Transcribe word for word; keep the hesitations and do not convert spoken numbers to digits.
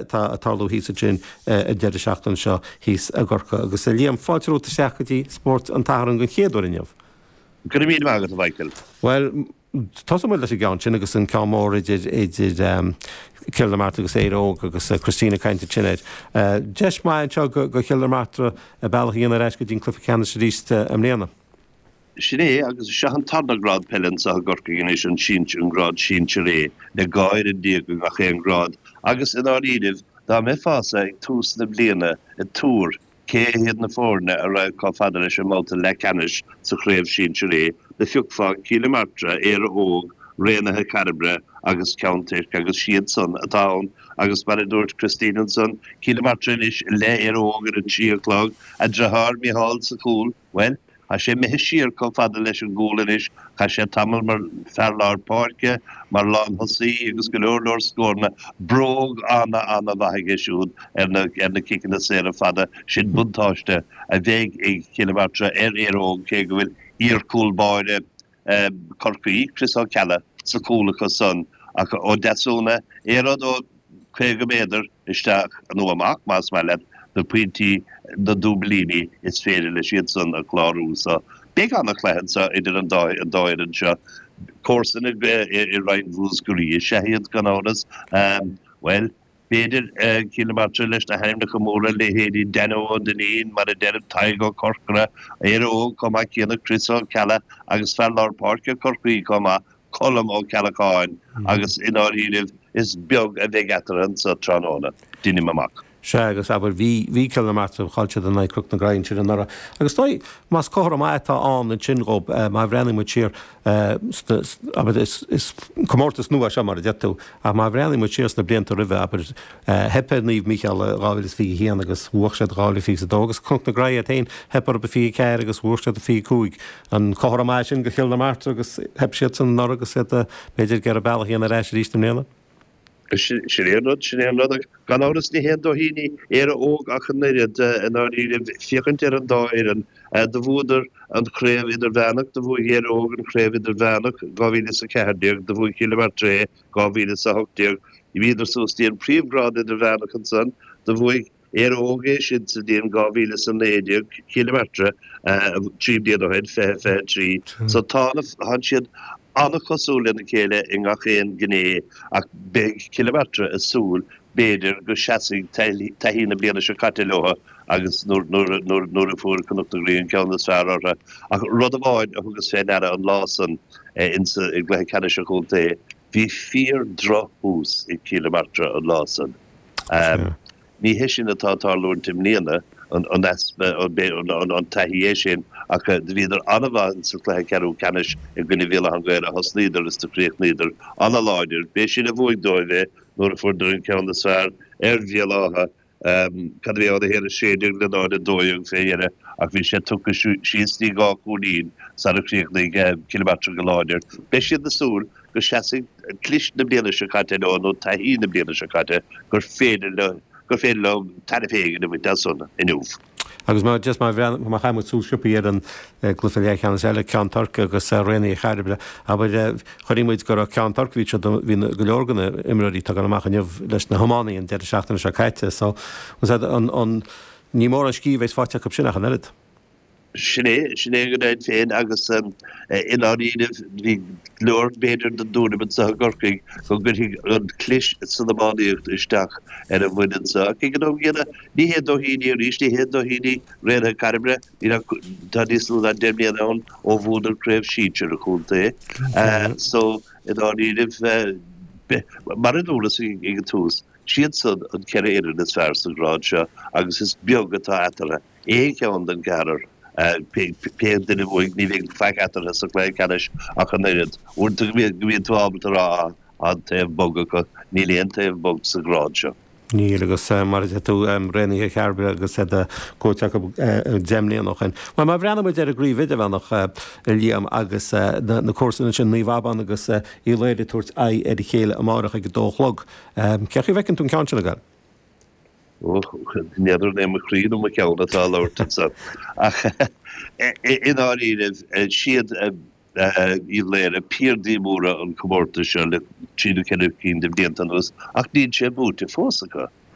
atá ag tarlú thíos ansin an deireadh seachtaine seo thíos i gCorcaigh. Agus a Liam, fáilte romhat isteach go dtí Spórt an tSathairn den chéad uair inniu. Go raibh míle maith agat, a Mhichael. Bhuel, tosóidh muid leis an gceann sin agus an ceann mór idir idir Cill na Martra agus Éire Óg agus Christine ag caint ansin air. Deis maith anseo go go Chill na Martra a bealach a dhéanamh ar ais go dtí an cluiche ceannais arís i mbliana. Sin é, agus seo an tarna grád peile anseo i gCorcaigh anois, an sinsear, an grád sinsir A, le dhá fhoireann déag i ngach aon ghrád, agus i ndáiríribh, dá mbeifeása ag tús na bliana ag tuar cé hiad na foirne a raghadh chomh fada leis an mbabhta leathcheannais sa chraobh sinsir A, do phiocfá Cill na Martra, Éire Óg, Raonaithe Chairbre agus Ceann Toirc agus siad san atá ann agus mar a dúirt Christine ansan, Cill na Martra anois le Éire Óg ar a trí a chlog, a deartháir Micheál sa chúl, bhuel, Tá sé imithe siar chomh fada leis an gcúl anois. Chaith sé tamall mar fear lár páirce, mar lán-thosaí agus go leor leor scóranna. Bróg ana, ana mhaith aige siúd ar na, ar na ciceanna saora fada. Sin buntáiste a bheidh ag Cill na Martra ar Éire Óg cé go bhfuil iar-chúl báire Chorcaí, Chris Ó Ceallaigh, sa chúl acu san. Ach Ó Deasúna, aon rud ó caoga méadar isteach nó amach, más maith leat, na pointí, na dúbailíní, is féidir leis iad san a chlárú. So, beidh ana-chluiche anseo idir an dá an dá fhoireann seo. Comharsana i Roinn Mhúscraí is ea iad, gan amhras. Bhuel, b'fhéidir, Cill na Martra leis na hainmneacha móra, leithéidí Danno Ó Duinnín, mar a deirim, Tadhg Ó Corcora, Éire Óg chomh maith céanna, Chris Ó Ceallaigh agus fear lár páirce Chorcaí chomh maith, Colm Ó Ceallacháin agus i ndáiríribh is beag a bheidh eatarthu anso tráthnóna, deinim amach. Sea, agus abair, bhí, bhí Cill na Martra, chaill siad in aghaidh Chnoc na Graí ansin anuraidh. Agus is dóigh, más comhartha maith atá ann ansin dhób, má bhreathnaíonn muid siar sna, abair, is, is comórtas nua é seo mar a deir tú, ach má bhreathnaíonn muid siar sna blianta roimhe, abair, theip ar Naomh Mícheál i dhá mhíle is fiche a haon agus bhuaigh siad dhá mhíle fiche a dó agus Cnoc na Graí iad féin, theip orthu i fiche a ceathair agus bhuaigh siad i fiche a cúig. An comhartha maith sin do Chill na Martra agus theip siadsan anuraidh agus iad, b'fhéidir, ag iarraidh bealach a dhéanamh ar ais arís i mbliana? Sin é an rud, sin é an rud. Ach gan amhras ní haon dóithíní Éire Óg ach an oiread, i ndáiríre, féachaint ar an dá fhoireann. Do bhuadar an chraobh idirmheánach, do bhuaigh Éire Óg an chraobh idirmheánach dhá mhíle is a ceathair déag, do bhuaigh Cill na Martra é dhá mhíle is a hocht déag. Bhíodar suas dtí an príomhghrád idirmheánach ansan, do bhuaigh Éire Óg é sin sa bhliain dhá mhíle is a naoi déag, Cill na Martra trí bliana ó shin, fiche fiche trí. So tá na, tánn siad an-chosúil lena chéile i ngach aon ghné ach beidh Cill na Martra ag súil b'fhéidir go seasfaidh taithí na bliana seo caite leo agus nuair, nuair, nuair, nuair a fuair Cnoc na Graí an ceann is fearr orthu. Ach rud amháin a thugas fé ndeara an lá san insa, i gcluiche ceannais an chontae, bhí fíor-droch-thús ag Cill na Martra an lá san. Ní hé sin atá ag tarlúint i mbliana, an easpa, an taithí é sin, ach do bhíodar an-mhaith sa chluiche ceathrú ceannais i gcoinne Bhéal Átha an Ghaorthaidh, thosnaíodar is do chríochnaíodar an-láidir. B'é sin a bhuaigh dóibh é nuair a fuaireadar an ceann is fearr ar Bhéal Átha, cad a bhí ann, a haon a sé déag le náid a dó dhéag fé dheireadh, ach bhí sé tugtha síos dtí dhá chúilín sara chríochnaigh Cill na Martra go láidir. Beidh siad ag súil go seasfaidh clis na bliana seo caite leo nó taithí na bliana seo caite gur féidir leo gur féidir leo tairbhe éigin a bhaint as san inniu. Agus má just má bhreathnaíonn má chaithimid súil sciobtha ar an gcluiche leathcheannais eile, Ceann Toirc agus Raonaithe Chairbre, abair, chonaic muid go raibh Ceann Toirc, bhí siad, bhí go leor de na imreoirí atá ag dul amach inniu leis na hiománaithe an deireadh seachtaine seo caite. So, an, an, ní mórán scíth a bheas faighte acu sin ach an oiread. Sin é, sin é go deimhin féin agus i ndáiríribh bhí go leor b'fhéidir den dtuairim anseo i gCorcaigh go gcuirfidh an chlis san iománaíocht isteach ar an bhfoireann seo. Ach ag an am gcéanna, ní haon dóithín í arís, ní haon dóithín í Raonaithe Cairbre, níl ach, tá níos lú ná deich mbliana ann ó bhuadar craobh sinsir an chontae. So, i ndáiríribh, mar a dúras ag an tús, siad san an ceithre fhoireann is fearr sa ghrád seo agus is beag atá eatarthu. Aon cheann den gceathrar, pé duine a bhuafaidh, ní bheidh faic eatarthu sa chluiche ceannais ach an oiread. Uaireanta go mbíonn tú ábalta a rá, ah, an taobh bog acu. Níl aon taobh bog sa ghrád seo. Níl, agus mar a deir tú, Raonaithe Chairbre agus iad buaite acu deich mbliana ó shin. Bhuel, má bhreathnaíonn muid ar an gcraobh idirmheánach, a Liam, agus na comharsana sin, Naomh Abán agus Uíbh Laoghaire ag tabhairt aghaidh ar a chéile amárach ag a dó a chlog, cén chaoi a bhfeiceann tú an ceann sin ag dul? Ó, n'fheadar an é mo chroí nó mo cheann atá ag labhairt anseo. Ach i ndáiríre, siad Uíbh Laoghaire piardaí móra an chomórtais seo le trí nó ceithre cinn de bhlianta anuas, ach níl sé buaite fós acu.